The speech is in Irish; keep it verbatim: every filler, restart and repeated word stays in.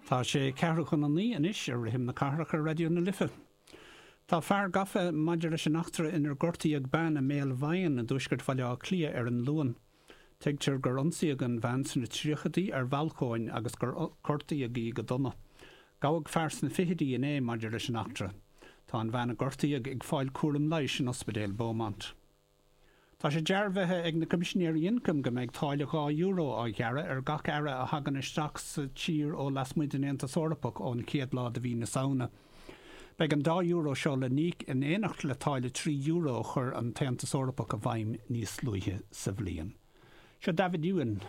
Tá sé ceathrú chun a naoi anois ar Rithim na Cathrach ar Raidió na Life. Tá fear gafa maidir leis an eachtra inar gortaíodh bean i mBéal Mhaighean i dtuaisceart Bhaile Átha Cliath ar an Luan. Tuigtear gur ionsaíodh an bhean sna tríochaidí ar bhalcóin agus gur gortaíodh í go dona. Gabhadh fear sna fichidí inné maidir leis an eachtra. Tá an bhean a gortaíodh ag fáil cúram leighis in Ospidéal Beaumont. Tá sé dearbhaithe ag na Coimisinéirí Ioncaim go mbeidh táille dhá euro á ghearradh ar gach earra a thagann isteach sa tír ó lasmuigh den Aontas Eorpach ón chéad lá de mhí na Samhna. Beidh an dá euro seo le n-íoc in éineacht le táille trí euro a chuir an tAontas Eorpach i bhfeidhm níos luaithe sa bhliain. Seo David Ewan